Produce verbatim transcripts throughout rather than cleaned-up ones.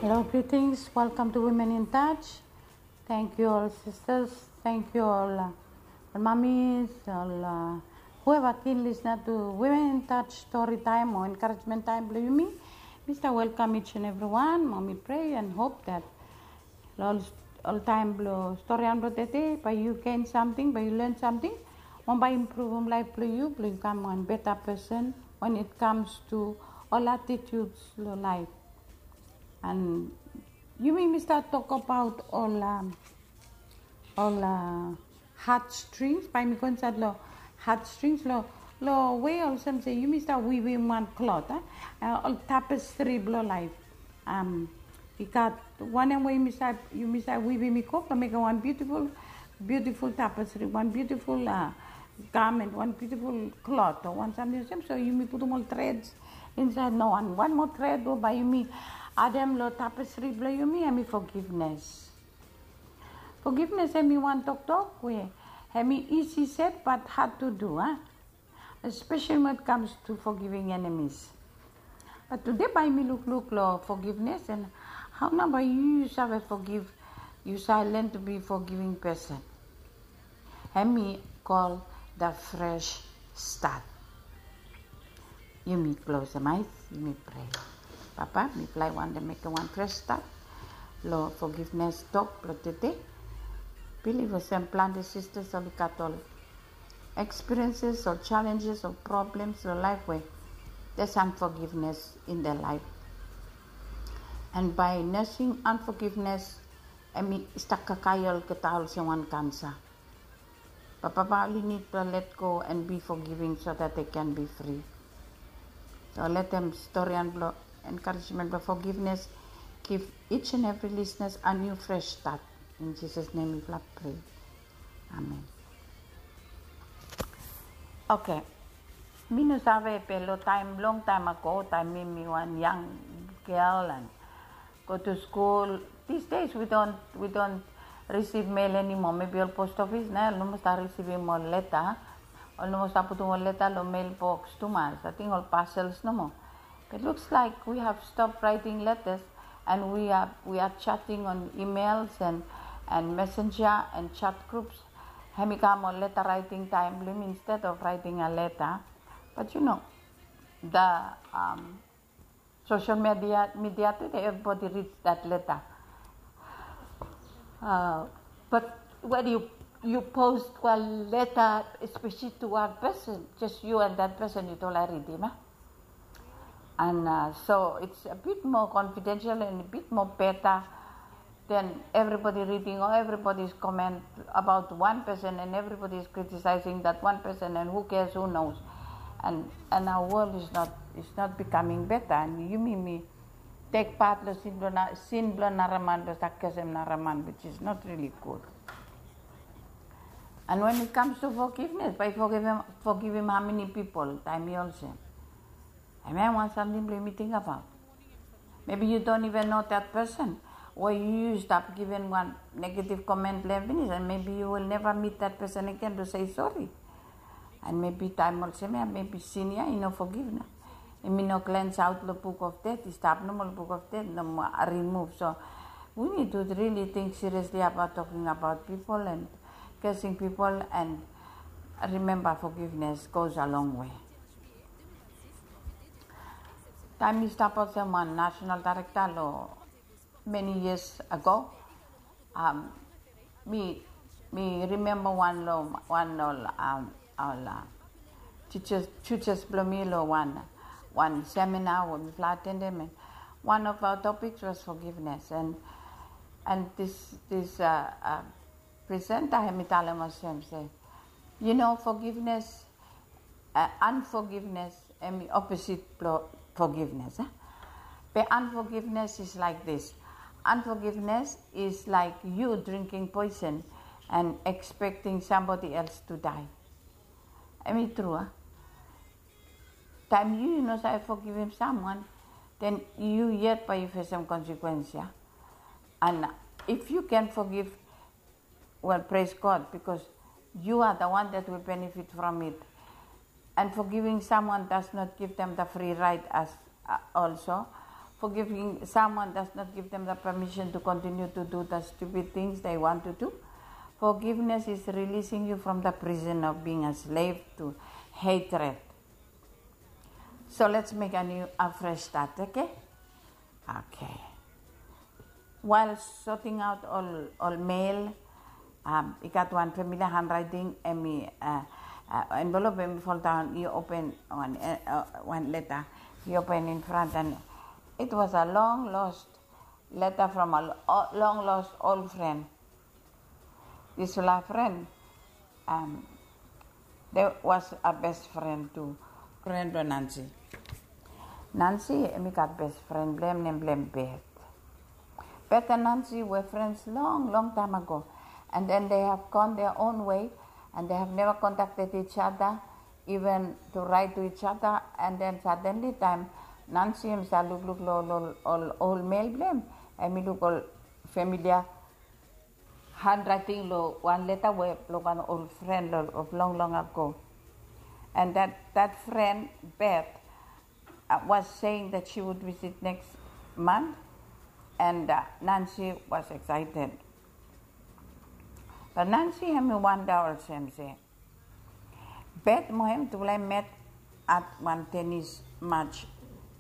Hello, greetings. Welcome to Women in Touch. Thank you all, sisters. Thank you all, uh, all mummies, all, uh, whoever keen listener to Women in Touch story time o encouragement time blong yumi. Mi stap welcome each and every one. Mo mi pray and hope that long, long taem blong storian blong tede, bae yu gain samting, bae yu learn samting. Mo bae impruvum laef blong yu, blong yu kam wan beta person when it comes to all attitudes long laef. And yumi mi stap tokbaot ol, um, ol, uh, heart strings, bae mi go insaed long heart strings, long, long wei olsem se yumi stap wivim wan klot, a? Uh, ol tapestri blong laef. Um, i gat wanem we yumi save, yumi save wivim i go blong mekem wan beautiful, beautiful tapestri, wan beautiful, uh, garment, wan beautiful klot o wan samting olsem. So yumi putum ol threads insaed, no wan, wan moa thread we bae yumi adem long tapestri blong yumi, hemi forgiveness. Forgiveness hemi wan toktok we hemi easy said but hard to do, a? Especially when it comes to forgiving enemies. But tede bae mi lukluk long forgiveness and hao nao bae yu, yu save forgive, yu save learn to be forgiving person. Hemi call the fresh start. Yumi klosem ae, yumi prea. Papa, mifala i wantem mekem wan fresh start long forgiveness tok blong tede. Bilif olsem plante sisters oli gat ol experiences, ol challenges, ol problems long laef we there's unforgiveness in their life. And by nursing unforgiveness, hemi stap kakae olgeta olsem wan kansa. But papa oli nid blong let go and be forgiving so that they can be free. So letem storian blong encouragement blong forgiveness give each and every listeners a new fresh start. In Jesus' name mifala prea. Amen. Okay. Mi no save, be long taem, long taem ago, taem mi, mi wan young girl and go to school. These days we don't, we don't receive mail anymore. Maybe ol post office nao oli no moa stap risivim ol leta. Oli no moa stap putum ol leta long mailbox tumas. Ating ol parcels nomo. But looks like we have stopped writing letters and we are, we are chatting on emails and, and messenger and chat groups. Hemi kam ol leta writing taem blong yumi instead of writing a letter. But you know, the, um, social media, media today, everybody reads that letter. Uh, but when you, you post one letter, especially to one person, just you and that person, yu tolek ridim, a? And, uh, so it's a bit more confidential and a bit more better than everybody reading or everybody's comment about one person and everybody is criticizing that one person and who cares, who knows. And, and our world is not, is not becoming better. And yumi mi tek pat long sin blong na-, sin blong nara man, blong stap kesem nara man, which is not really good. And when it comes to forgiveness, bae yu forgivim, forgivim how many people, taem i olsem. Hemia wan samting blong yumi tingbaot. Maybe you don't even know that person, we yu stap givim wan negative comment blong hem finis, and maybe you will never meet that person again to say sorry. And maybe taem olsem ia, maybe sin ia i no forgive nao. Hemi no cleanse out long book of death, i stap nomo long book of death, nomo remove. So we need to really think seriously about talking about people and cursing people, and remember, forgiveness goes a long way. Taem mi stap olsem wan national director long many years ago, um, mi, mi remember wan long, wan ol, um, ol, uh, teachers, tutors blong mi long wan, wan seminar we mifala atendem, and one of our topics was forgiveness. And, and this, this, uh, uh, presenter hemi talem olsem se, you know, forgiveness, uh, unforgiveness hemi opposite blong forgiveness, a? Be unforgiveness is like this. Unforgiveness is like you drinking poison and expecting somebody else to die. Hemi tru, a? Taem yu, yu no save forgivim someone, then yu yet bae yu fesem consequence ia. And if you can forgive, well, praise God, because you are the one that will benefit from it. And forgiving someone does not give them the free right as, uh, also. Forgiving someone does not give them the permission to continue to do the stupid things they want to do. Forgiveness is releasing you from the prison of being a slave to hatred. So let's make a new, a fresh start, okay? Okay. While sorting out ol, ol mail, um, i gat wan familia handwriting, hemi, uh, uh, envelope, hemi foldaon, i open wan, uh, uh, wan leta. I open in front, and it was a long lost letter from a lo-, o-, long lost old friend. Disfala fren, um, de was a best friend tu, fren blong Nancy. Nancy hemi gat best friend blong hem, nem blong hem Beth. Beth and Nancy were friends long long time ago, and then they have gone their own way, and they have never contacted each other, even to write to each other. And then suddenly time, Nancy hemi stap lukluk long ol, ol, ol mail blong hem, hemi luk ol familia handwriting long wan leta we blong wan ol fren long, of long long ago. And that, that friend, Beth, uh, was saying that she would visit next month, and, uh, Nancy was excited. But Nancy hemi wanda olsem se, Beth mo hem tufala i met at wan tenis match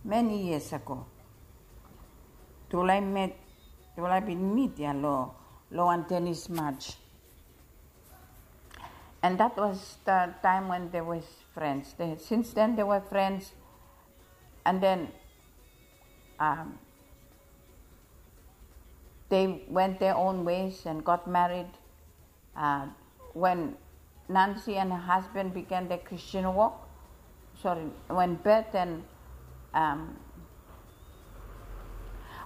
many years ago. Tufala i met, tufala i bin mit ya long, long wan tenis match. And that was the time when they were friends. They, since then they were friends. And then, um, they went their own ways and got married. Uh, when Nancy and her husband began their Christian walk, sorry, when Beth and, um,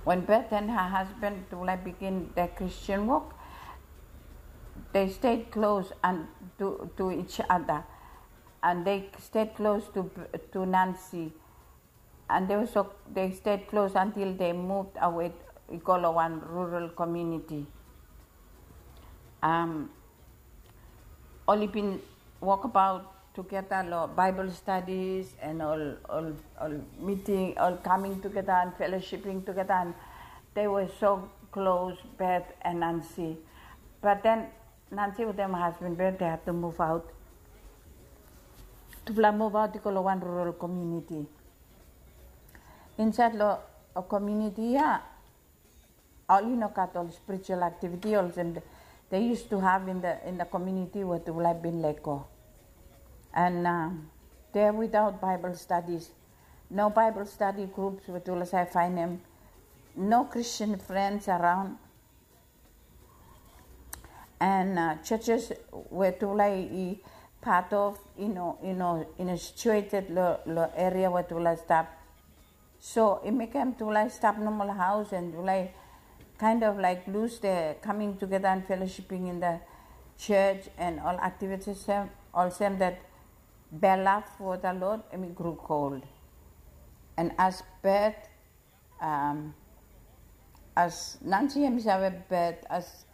when Beth and her husband tufala i begin their Christian walk, they stayed close and to, to each other, and they stayed close to, to Nancy. And they also, they stayed close until they moved away i go long wan rural community. Um, oli bin wokabaot tugeta long Bible studies and ol, ol, ol meeting, ol coming together and fellowshipping together, and they were so close, Beth and Nancy. But then Nancy wetem husband blong hem, they had to move out. Tufala move out i go long wan rural community. Insaed long, uh, community ya, oli no gat ol spiritual activity olsem they used to have in the, in the community we tufala i bin lego. And, um, they're without Bible studies. No Bible study groups we tufala save faenem. No Christian friends around. And, uh, churches we tufala i part of, i no, i no, i no situated long, long area we tufala i stap. So i mekem tufala i stap nomo long haos, and tufala i kind of like lose the coming together and fellowshipping in the church and ol activities, olsem that their love for the Lord hemi grew cold. And as Beth, um, as Nancy hemi save Beth, as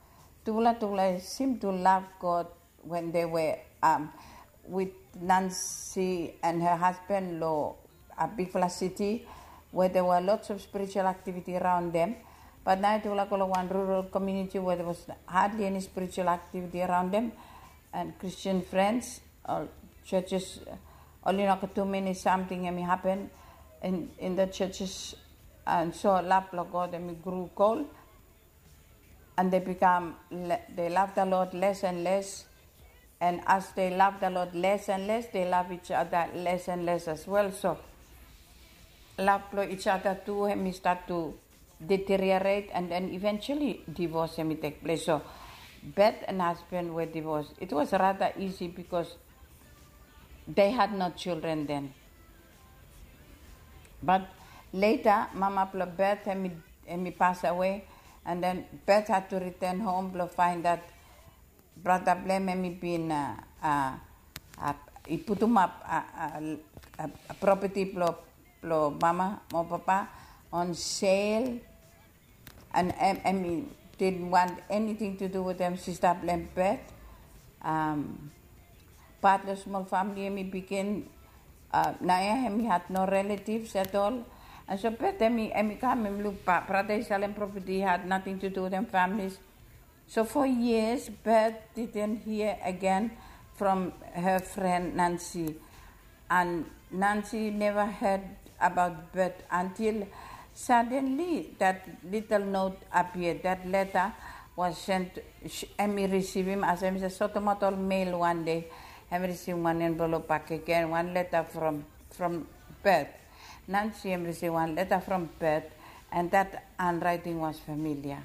tufala, tufala i seem to love God when they were, um, with Nancy and her husband long a bigfala city where there were lots of spiritual activity around them. But naoia tufala go long wan rural community where there was hardly any spiritual activity around them, and Christian friends, ol churches, uh, oli no gat too many samting hemi hapen in, in the churches, and so love blong God hemi grew cold, and they become le-, they love the Lord less and less, and as they love the Lord less and less, they love each other less and less as well. So love blong each other tu hemi start to deteriorate, and then eventually divorce hemi tek ples. So Beth and husband were divorced. It was rather easy because they had no children then. But later mama blong Beth hemi, hemi pass away, and then Beth had to return home blong find that brata blong hem hemi bin, uh, uh, uh, i putum ap, uh, uh, uh, property blong, blong mama mo papa on sale, and, and, and he didn't want anything to do with them. Sista blong hem Beth, um, pat long smol famili hemi bigin, uh, naoia hemi had no relatives at all, And so Beth, emi, emi kam, emi luk, brata i salem property, had nothing to do with them families. So for years, Beth didn't hear again from her friend Nancy. And Nancy never heard about Beth until suddenly that little note appeared. That letter was sent, emi risivim, as emi se, sotomato mail wan dei, emi risivim wan envelope bakegen, wan letter from, from Beth. Nancy emi risivim wan letter from Beth, and that handwriting was familiar.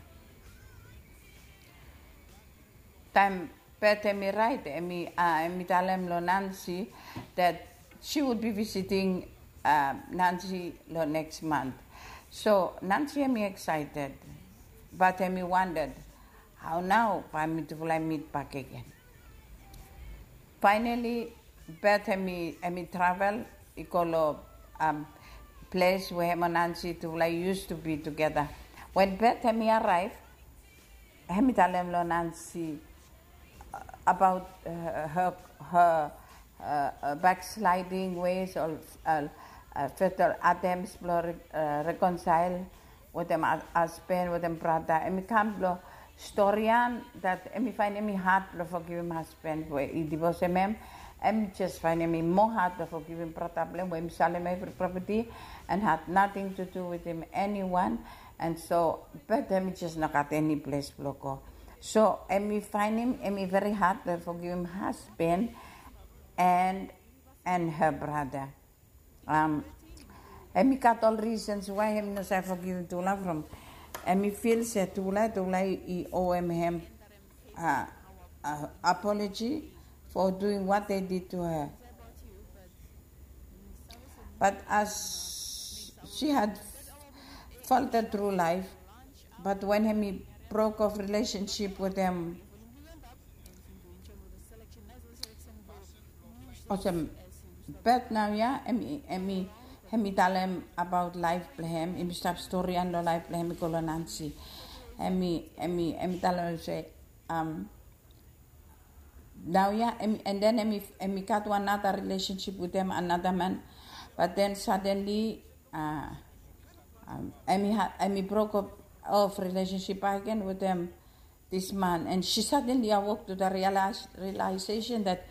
Taem Beth emi raet, emi, uh, emi talem lo Nancy that she would be visiting, uh, Nancy lo next month. So Nancy emi excited, but emi wondered, hao nao bae mitufala i mit bakegen? Finally, Beth emi, emi travel i go lo, um, ples we hem o Nancy tufala i used to be together. When Beth emi arrive, emi talem lo Nancy, uh, about, uh, her, her, uh, uh, backsliding ways, ol, uh, uh, fatal attempts blo re-, uh, reconcile wetem husband, wetem brata. Emi kam blo storian that emi faenem i had blo fogivim husband we i divosem hem. Emi jes faenem i moa had blo fogivim brata blo hem we emi salem evri property and had nothing to do with him, anyone. And so, but emi jes no gat eni ples blo go. So emi faenem emi veri had blo fogivim husband and, and her brother. Um, emi gat ol reasons why emi no save fogivim tufala from, emi feel se tufala, tufala i owem hem, uh, uh, apology for doing what they did to her. But as she had faltered through life, but when emi broke off relationship with them, olsem, Beth naoia, emi, emi, emi talem about life blo hem, emi stap storian lo life blo hem i go lo Nancy. Emi, emi, emi talem se, um, naoia, emi, and then emi, emi gat wan nara relationship wetem anara man, but then suddenly, uh, um, emi ha-, emi broke up off relationship bakegen wetem this man, and she suddenly awake to the realize-, realization that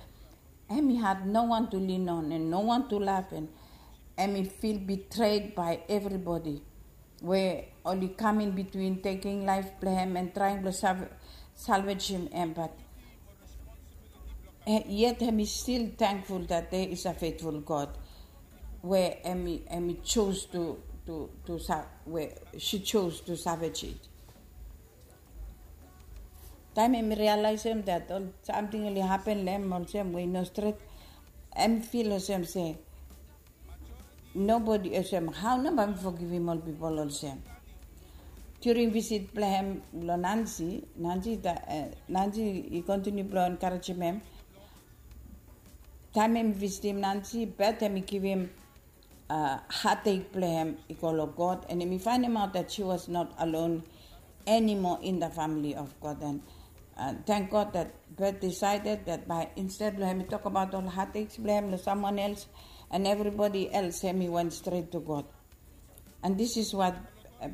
emi had no one to lean on and no one to love, and emi feel betrayed by everybody we oli kam in between, taking life blo hem and trying blo salv-, salvagem hem, but, eh, yet emi still thankful that there is a faithful God we emi, emi chose to, to, to sa-, we she chose to salvage it. Taem emi realize hem that ol samting oli hapen lo hem olsem we i no stret, emi feel olsem se nobody, olsem, hao nao bae mi fogivim ol pipol olsem? During visit blo hem lo Nancy, Nancy, uh, Nancy i continue blo encouragem hem. Taem emi visitim Nancy, Beth emi givim, uh, heartache blo hem i go lo God, and emi faenemaot that she was not alone anymore in the family of God. And, uh, thank God that Beth decided that by, instead lo hemi tokbaot ol heartaches blo hem lo someone else and everybody else, hemi went straight to God. And this is what, uh,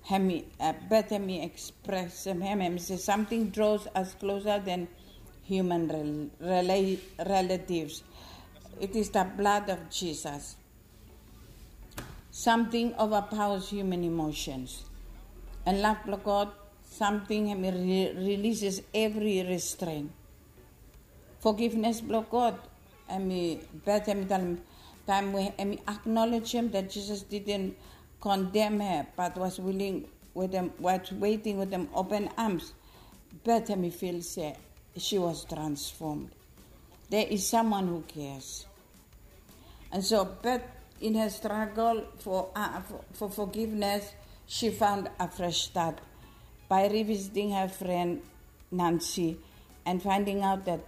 hemi, uh, Beth hemi express hem, hemi se, something draws us closer than human rel-, rela-, relatives. It is the blood of Jesus. Something overpowers human emotions. And love blo God, something hemi re-, releases every restraint. Forgiveness blo God, hemi, Beth hemi talem, taem we hemi acknowledge hem that Jesus didn't condemn her, but was willing wetem, was waiting wetem open arms. Beth hemi feel se she was transformed. There is someone who cares. And so Beth, in her struggle for, uh, for, for forgiveness, she found a fresh start by revisiting her friend Nancy and finding out that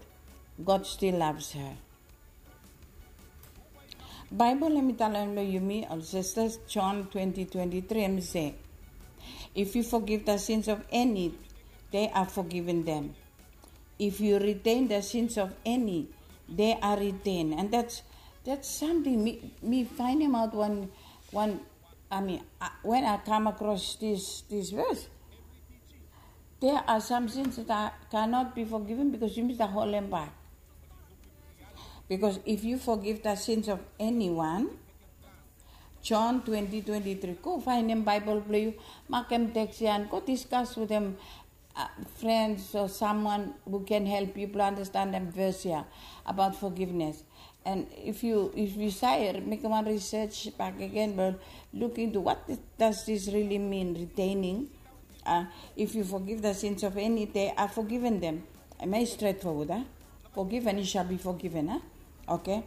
God still loves her. Baebol hemi talem lo yumi, ol sisters, John twenty twenty-three, hemi se, if you forgive the sins of any, they are forgiven them. If you retain the sins of any, they are retained. And that's, That's something mi mi find him out one one I mean uh, when I come across this this verse. There are some sins that I cannot be forgiven because you miss the whole back. Because if you forgive the sins of anyone, John twenty twenty three, go find him Bible blong yu, makem text ya and go discuss with him uh, friends or someone who can help you to understand them verse here about forgiveness. And if you if you say make one research back again, but look into what does this really mean, retaining. Uh, if you forgive the sins of any, they are forgiven them. Am I straightforward? Huh? Forgive and you shall be forgiven. Huh? Okay.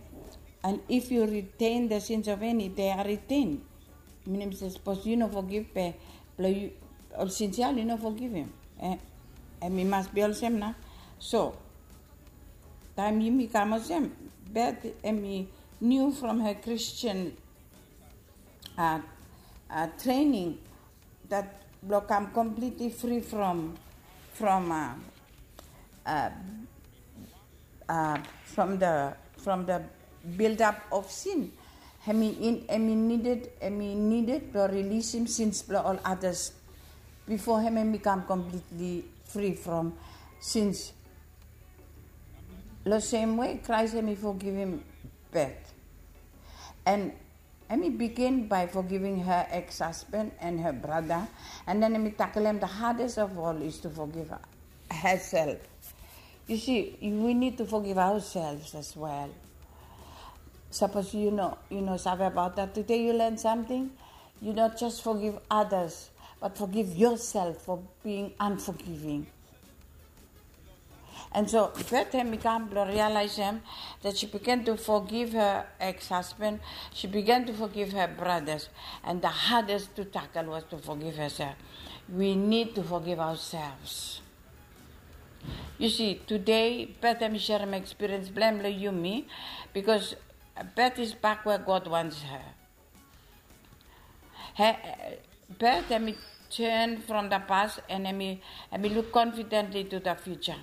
And if you retain the sins of any, they are retained. Minim se sapos yu no forgive pe blong yu ol sins ya yu no forgive him. Eh, em i mas be olsem na. So taem yumi kam olsem, Beth em i new from her Christian uh, uh, training that blong kam completely free from from uh, uh, uh, from the from the build up of sin. Hem i in hem i needed hem i needed blong release him sins blong ol others before hem hem i kam completely free from sins. Lo same way Christ hem i forgive him Beth. And Emi begin by forgiving her ex-husband and her brother, and then Emi tackle him. The hardest of all is to forgive herself. You see, we need to forgive ourselves as well. Suppose you know, you know, save about that today. You learn something. You not just forgive others, but forgive yourself for being unforgiving. And so Beth hem i kam blong realize hem that she began to forgive her ex-husband, she began to forgive her brothers, and the hardest to tackle was to forgive herself. We need to forgive ourselves. You see, today Beth hem i sharem experience blong hem long yumi, because Beth is back where God wants her. He, Beth hem i turn from the past and hem i hem i look confidently to the future.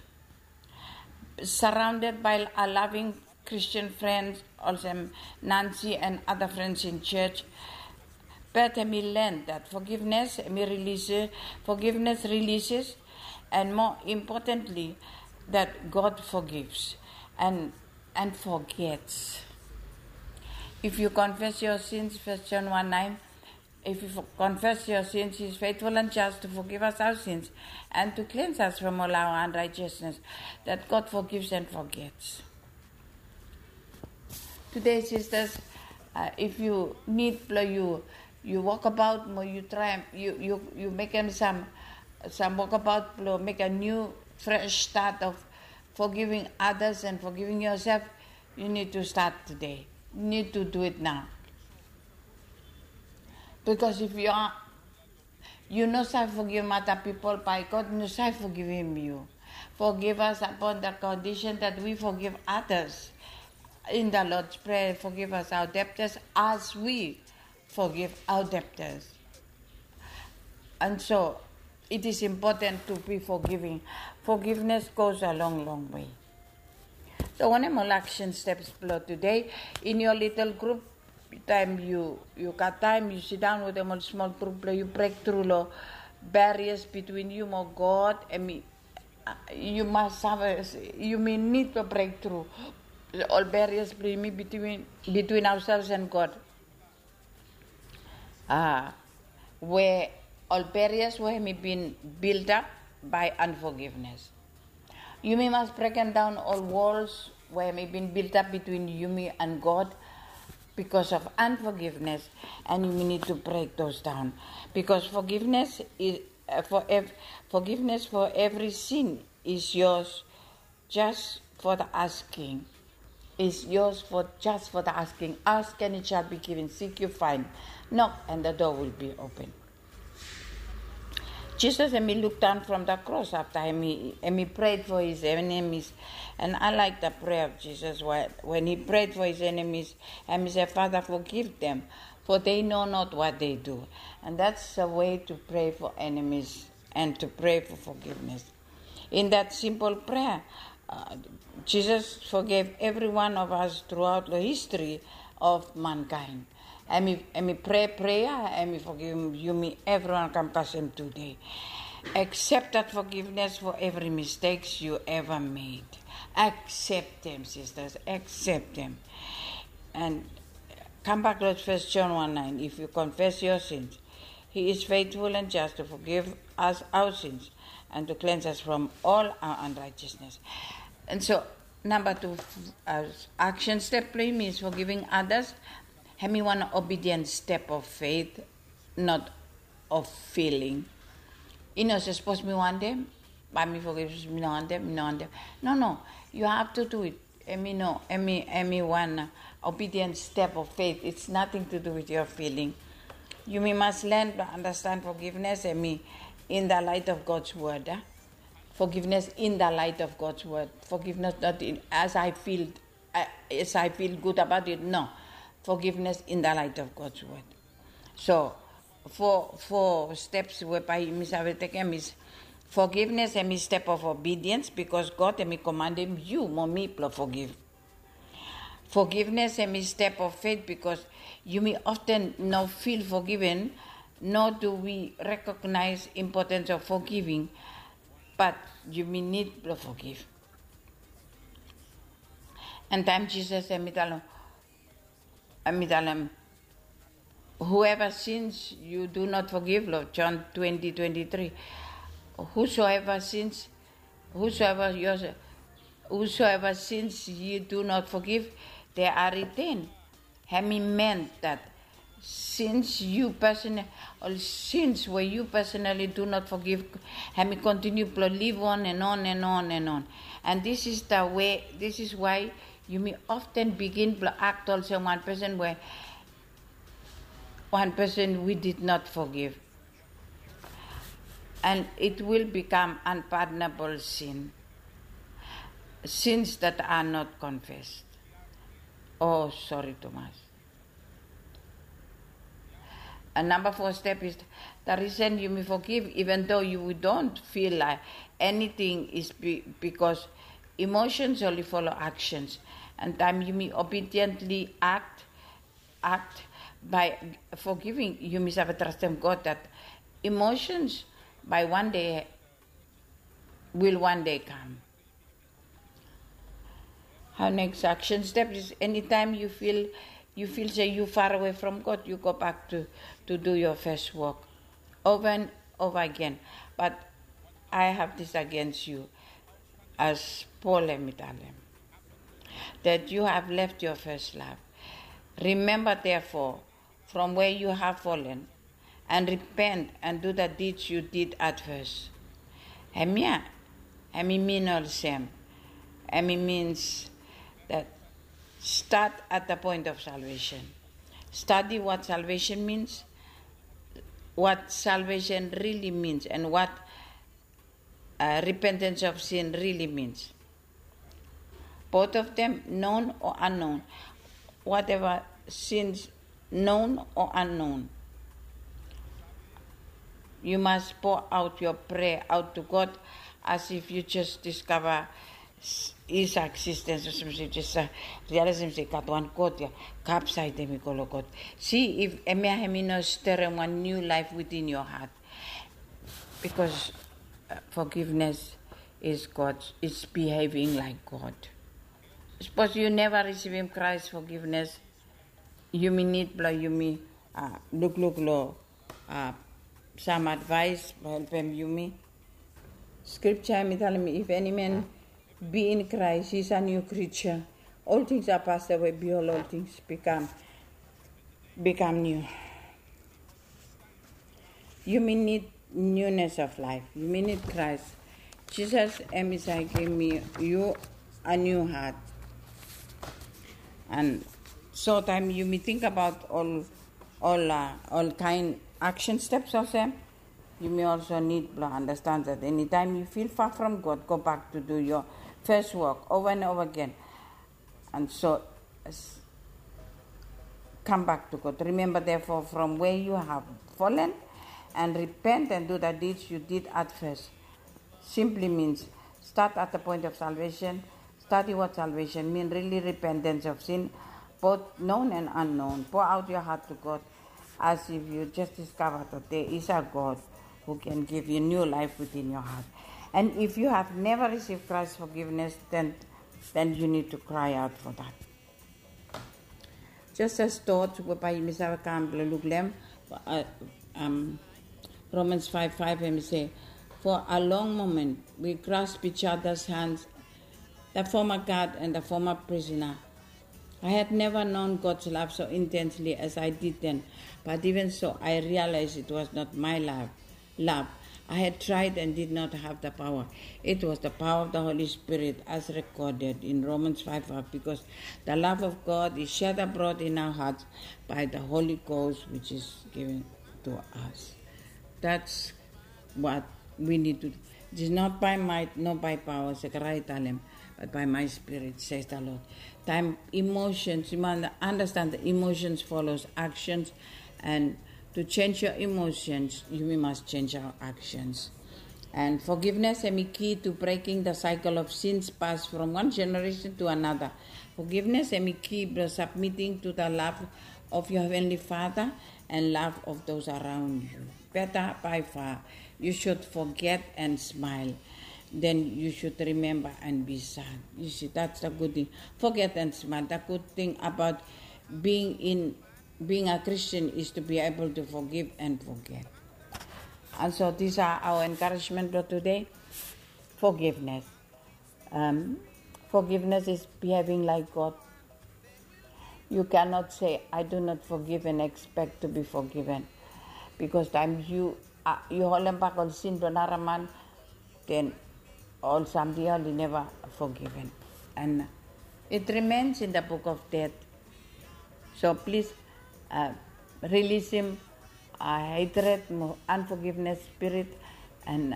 Surrounded by a loving Christian friends, also Nancy and other friends in church, Beth hem i learn that forgiveness hem i release, forgiveness releases, and more importantly, that God forgives and and forgets. If you confess your sins, First John one nine, if you confess your sins, He is faithful and just to forgive us our sins and to cleanse us from all our unrighteousness, that God forgives and forgets. Today, sisters, uh, if you need blong you you walk about mo you try you you you make them some some walk about blong make a new fresh start of forgiving others and forgiving yourself, you need to start today. You need to do it now. Because if you are you no save forgive other people, by God no save forgive him you. Forgive us upon the condition that we forgive others. In the Lord's Prayer, forgive us our debtors as we forgive our debtors. And so it is important to be forgiving. Forgiveness goes a long, long way. So wanem ol action steps blong today in your little group, taem yu yu gat taem yu sidaon wetem ol smol grup blong yu brektru long barriers between yu mo God. Em yu mas save yumi nid blong brektru ol barriers blong yumi between between ourselves and God. Ah, we ol barriers we hem i bin build up by unforgiveness. Yumi mas brekem daon ol walls we hem i bin build up between yumi and God because of unforgiveness, and yumi need to break those down because forgiveness is uh, for ev- forgiveness for every sin is yours just for the asking. Is yours for just for the asking. Ask and it shall be given. Seek you find. Knock and the door will be open. Jesus, and he looked down from the cross after and he, and he prayed for his enemies. And I like the prayer of Jesus when, when he prayed for his enemies and he said, Father, forgive them, for they know not what they do. And that's a way to pray for enemies and to pray for forgiveness. In that simple prayer, Jisas forgiv evri wan of as truaot long histri of mankaen. Hem i prea prea, hem i forgivim yumi evriwan kam kasem tude. Accept that forgiveness for every mistakes you ever made. Accept them, sisters, accept them. And come back, Lord, First John one nine. If you confess your sins, he is faithful and just to forgive us our sins and to cleanse us from all our unrighteousness. And so, number two, uh, action step blong yumi is forgiving others. Hem i wan obedient step of faith, not of feeling. I no se sapos mi wantem, bae mi forgiv, mi no wantem, mi no wantem. No, no, you have to do it. Hem i no, hem i, hem i wan obedient step of faith. It's nothing to do with your feeling. Yumi mas len blong understand forgiveness, hem i in the light of God's word. Forgiveness in the light of God's word. Forgiveness not in, as I feel, uh, as I feel good about it. No. Forgiveness in the light of God's word. So, fo fo steps we bae yumi save tekem is forgiveness, hem i step of obedience, bikos God hem i komanem yu mo mi blong forgiv. Forgiveness hem i step of faith, bikos yumi often no feel forgiven, nor do we recognize importance of forgiving, but yumi nid blong forgiv. And taem Jisas hem i talem, hem i talem, whoever sins you do not forgive, long John twenty twenty-three, whosoever sins, whosoever your, whosoever sins you do not forgive, they are retained. Hem i meant that sins you personally, ol sins we you personally do not forgive, hem i continue blong live on and on and on and on. And this is the way, this is why yumi often begin blong act olsem wan person we, wan person we did not forgive. And it will become unpardonable sin, sins that are not confessed. Oh, sorry, Thomas. And number four step is the reason yumi forgive, even though you don't feel like anything, is be, because emotions only follow actions. And taem yumi obediently act, act by forgiving, yumi save trastem God that emotions by one day will one day come. Our next action step is anytime you feel, you feel say you far away from God, you go back to, to do your first work over and over again. But I have this against you, as Paul hem i talem, that you have left your first love. Remember, therefore, from where you have fallen, and repent and do the deeds you did at first. Hemia, hemi mean olsem, hemi means that start at the point of salvation. Study what salvation means, what salvation really means, and what uh, repentance of sin really means. Both of them, known or unknown, whatever sins, known or unknown, you must pour out your prayer out to God as if you just discover His existence. Olsem se jes realize se i gat wan God ya, kam saed hemi go long God. Si if hemia hemi no stirem wan new life within your heart. Because uh, forgiveness is God, is behaving like God. Sapos yu neva risivim Kraes forgiveness, yumi nid blong yumi uh, lukluk long uh, sam advaes blong helpem yumi. Skripta hemi talem, if any man be in Christ, he's a new creature. All things are passed away, behold, all things become become new. Yumi nid newness of life. Yumi nid Kraes. Jisas hemi save givim yu a new heart. And so taem yumi tingbaot ol ol uh, ol kaen action steps olsem, yumi also nid blong understand that anytime you feel far from God, go back to do your first work over and over again. And so, come back to God. Remember, therefore, from where you have fallen, and repent and do the deeds you did at first. Simply means Start at the point of salvation. Study what salvation mean, really repentance of sin, both known and unknown. Pour out your heart to God as if you just discovered that there is a God who can give you new life within your heart. And if you have never received Christ's forgiveness, then then you need to cry out for that. Just as thought we bae yumi save kam blong luk long hem, uh, um, Romans five five, hemi se, for a long moment we grasp each other's hands, the former guard and the former prisoner. I had never known God's love so intensely as I did then, but even so, I realized it was not my love. Love. I had tried and did not have the power. It was the power of the Holy Spirit, as recorded in Romans five five, because the love of God is shed abroad in our hearts by the Holy Ghost, which is given to us. That's what we need to do. It is not by might nor by power, Zechariah i talem, but by my spirit, says the Lord. Taem emotions, you must understand the emotions follows actions, and to change your emotions, you must change our actions. And forgiveness hemi key to breaking the cycle of sins passed from one generation to another. Forgiveness hemi key blong submitting to the love of your Heavenly Father and love of those around you. Better by far, you should forget and smile than you should remember and be sad. You see, that's the good thing. Forget and smile. The good thing about being in being a Christian is to be able to forgive and forget. And so these are our encouragement for today. Forgiveness. Um, forgiveness is behaving like God. You cannot say, "I do not forgive," and expect to be forgiven. Because taem yu, uh, yu holem bak ol sin blong nara man, then ol samting ya oli neva forgiven. And it remains in the book of death. So please, uh, release him, uh, hatred, mo-, unforgiveness spirit, and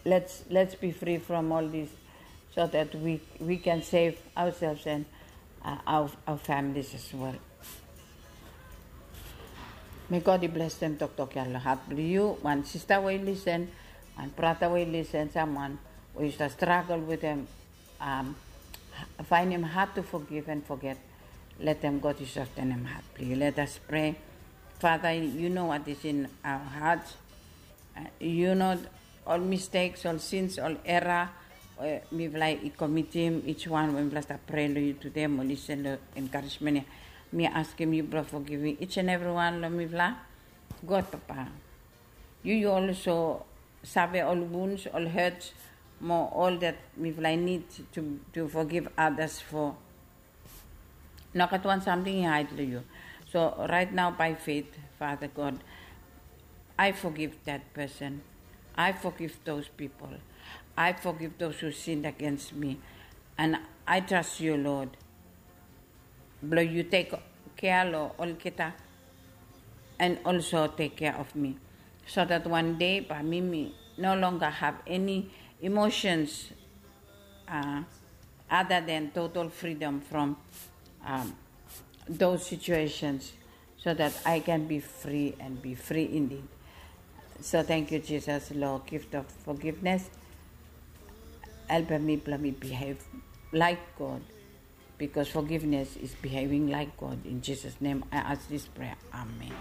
let's, let's be free from all this so that we, we can save ourselves and, uh, our, our families as well. May God i blesem toktok ya long hat blong yu, wan sista we i lisen, wan brata we i lisen, samwan we yu stap stragol wetem, um, finding hard to forgive and forget. Letem God i softenem hat blong yu. Let us pray. Father, you know what is in our hearts. Uh, you know ol mistakes, ol sins, ol error we mifala i komitim, each one we mifala stap prea long yu tude mo lisen long encouragement ya. Mi askem yu blong forgiving each and every one long mifala. God Papa, yu, yu also save ol wounds, ol hurts, mo ol that mifala i need to, to forgive others for. Nogat wan samting i haed long yu. So right now, by faith, Father God, I forgive that person. I forgive those people. I forgive those who sinned against me. And I trust you, Lord, blong yu tek kea long olgeta and also take care of me, so that one day bae mi, mi no longer have any emotions, uh, other than total freedom from, um, those situations, so that I can be free and be free indeed. So thank you, Jesus, long gift of forgiveness. Helpem mi blong mi behave like God, because forgiveness is behaving like God. In Jesus' name I ask this prayer. Amen.